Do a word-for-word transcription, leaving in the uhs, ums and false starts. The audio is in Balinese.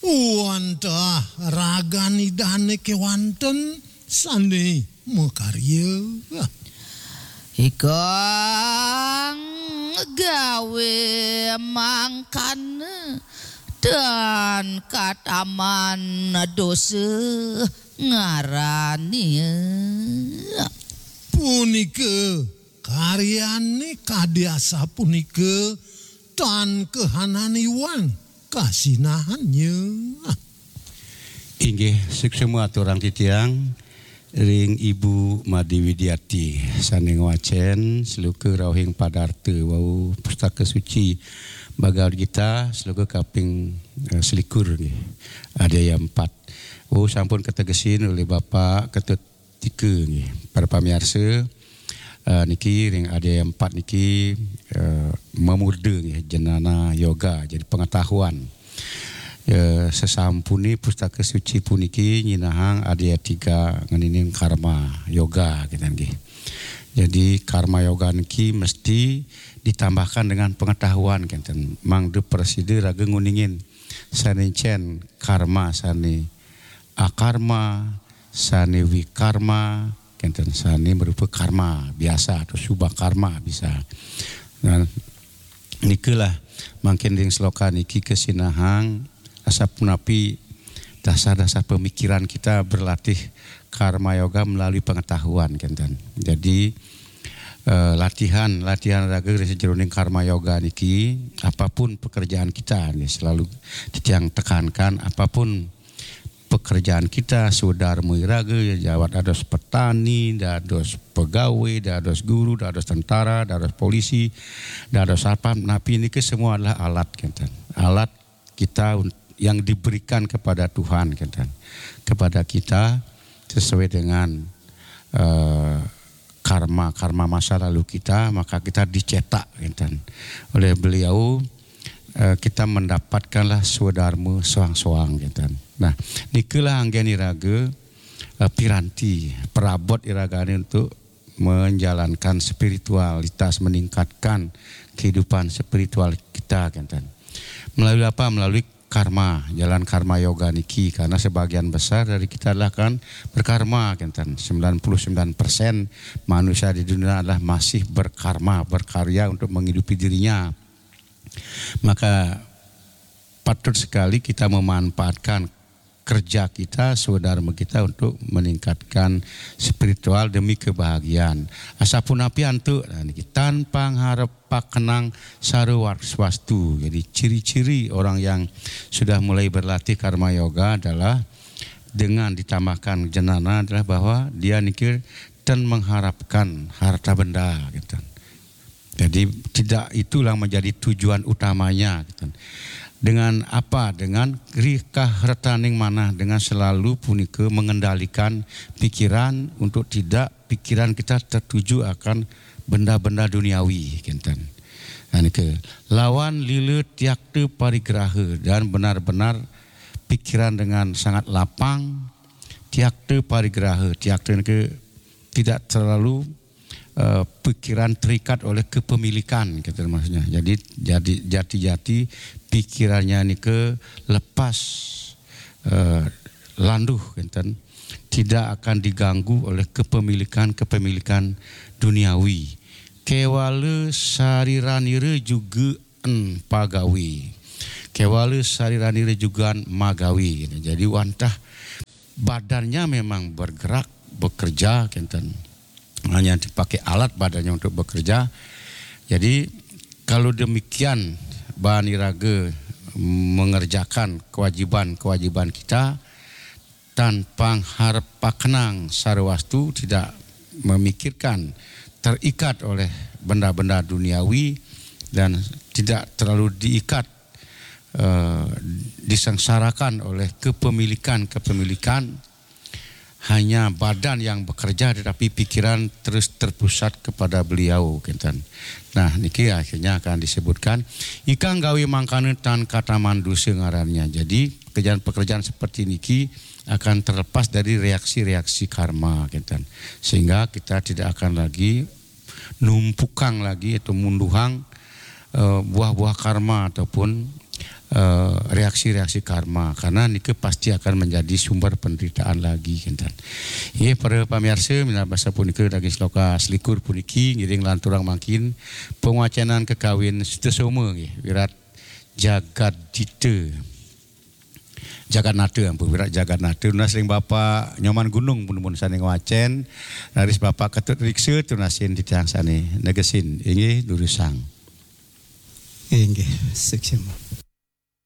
Wantah ragan Idane kewanten sane makarya. Ikang gawe mangkana tan kataman dosa ngarane. Punika karyane kadi asapunika tan kahanan iwang kasinahannya. Inggih, suksma aturang titiang ring Ibu Made Widiati sane ngwacen sloka rauhing padarta wau Pustaka Suci Bhagavad Gita sloka kaping, eh, selikur nggih. Adhyaya empat. Oh, sampun kategesin oleh Bapak Ketut Tika nggih. Para pamiarsa, eh, niki ring adhyaya empat niki, eh, mamurda nggih, jnana yoga, jadi pengetahuan. Eh, sesampune Pustaka Suci puniki nyinahang adhyaya tiga ngening karma yoga kita nggih. Jadi karma yoga niki mesti ditambahkan dengan pengetahuan kenten. Mangda prasida raga nguningin sane encen karma sane akarma, sane wikarma, kenten sane marupa karma biasa atau subha karma bisa. Nah, nikalah mangkin ring sloka niki kasinahang asapunapi dasar-dasar pemikiran kita berlatih karma yoga melalui pengetahuan kenten. Jadi, eh, latihan, latihan raga ring sajeroning karma yoga niki, apapun pekerjaan kita nggih, selalu titiang tekankan, apapun pekerjaan kita, swadarma iraga, jawat dados petani, dados pegawai, dados guru, dados tentara, dados polisi, dados satpam, napi niki semua adalah alat kenten. Alat kita un-, yang diberikan kepada Tuhan kenten. Kepada kita sesuai dengan, eh, karma, karma masa lalu kita, maka kita dicetak kenten. Oleh beliau, eh, kita mendapatkanlah swadarma soang-soang kenten. Nah, nikalah anggen iraga, eh, piranti, perabot iragane untuk menjalankan spiritualitas, meningkatkan kehidupan spiritual kita kenten. Melalui apa? Melalui karma, jalan karma yoga niki, karena sebagian besar dari kita adalah kan berkarma kenten. Sembilan puluh sembilan persen manusia di dunia adalah masih berkarma, berkarya untuk menghidupi dirinya. Maka patut sekali kita memanfaatkan kerja kita, swadarma kita untuk meningkatkan spiritual demi kebahagiaan. Asapunapi antuk, nah, niki, tan pangharep pakenang sarwa swastu. Jadi ciri-ciri orang yang sudah mulai berlatih karma yoga adalah dengan ditambahkan jnana adalah bahwa dia niki tan mengharapkan harta benda gitu. Jadi tidak itulah menjadi tujuan utamanya gitu. Dengan apa? Dengan rikah retaning manah, dengan selalu punika mengendalikan pikiran untuk tidak pikiran kita tertuju akan benda-benda duniawi kenten. Nah, nika, lawan lila tiakta parigraha dan benar-benar pikiran dengan sangat lapang, tiakta parigraha, tiakta nika tidak terlalu, eh, pikiran terikat oleh kepemilikan, kata maksudnya. Jadi, jadi jati-jati pikirannya nika lepas, eh, landuh, kenten, tidak akan diganggu oleh kepemilikan-kepemilikan duniawi. Kewala sariranira juga en pagawe. Kewala sariranira jugan magawe. Jadi wantah badannya memang bergerak, bekerja, kenten. Hanya dipakai alat badannya untuk bekerja. Jadi kalau demikian, baan iraga mengerjakan kewajiban-kewajiban kita, tan pangharep pakenang sarawastu, tidak memikirkan, terikat oleh benda-benda duniawi dan tidak terlalu diikat, eh, disengsarakan oleh kepemilikan-kepemilikan, hanya badan yang bekerja tetapi pikiran terus terpusat kepada beliau, kenten. Nah, niki akhirnya akan disebutkan, ikang gawe mangkana tan kataman dosa ngarannya. Jadi pekerjaan-pekerjaan seperti niki akan terlepas dari reaksi-reaksi karma, kenten. Sehingga kita tidak akan lagi numpukang lagi atau munduhang, eh, buah-buah karma ataupun, eh, reaksi-reaksi karma, karena nika pasti akan menjadi sumber penderitaan lagi, kinten. Nggih, para pamiarsa, minab sapunika daging sloka selikur puniki ngiring lanturang mangkin pangwacenan kakawin Sutasoma nggih, Wirat Jagadita. Jagatnata, ampun, Wirat Jagatnata. Nunas ring Bapak Nyoman Gunung pun, pun sane ngwacen, raris Bapak Ketut Riksa tunasin titiang sane negesin. Inggih, durusang. Inggih, suksma.